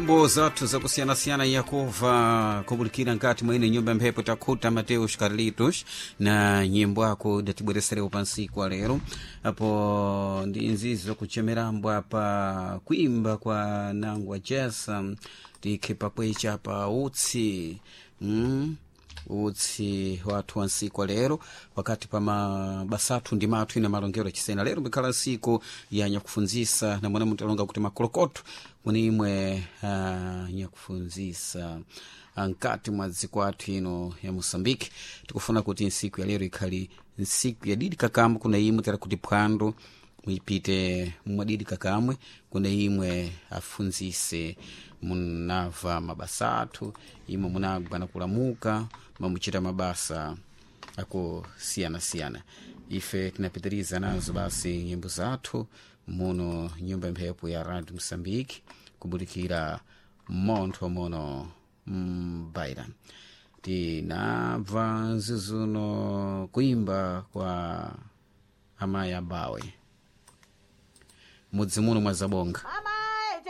Nyimbo zathu zakusiyanasiyana yakuva kubulikira nkati mwa ine nyumba mphepo takhuta Mateus Carlitos na nyimbo ako datibwereserewo pansiku wa lero apo ndi nzizo kuchemerambwa pa kuimba kwa nangwa jesa tikhe pakwecha pa utsi utsi wathu wa nsiku wa lero wakati pa mabasa athu ndi mathu ina malongero achisena lero mbikhala nsiku ya nyakufunzisa na mwana mutalonga kuti makolokoto kuni imwe nyakufunzisa nkati mwa dziko athu ino ya Moçambique. Tikufuna kuti nsiku ya lero ikhali nsiku ya didi kakamwe kuna imwe tera kuti phwando mwipite mwadidi kakamwe kuna imwe afunzise munava mabasa athu imwe munagwa na kulamuka mamuchita mabasa akusiyana-siyana. Ife tinapitiriza nazo basi nyimbo zathu muno nyumba mphepo ya Radio Moçambique kubulikira montho mono mbaira. Tinabva nzizuno kuimba kwa amayi abawe mudzi muno mwa Zabonga. Mama.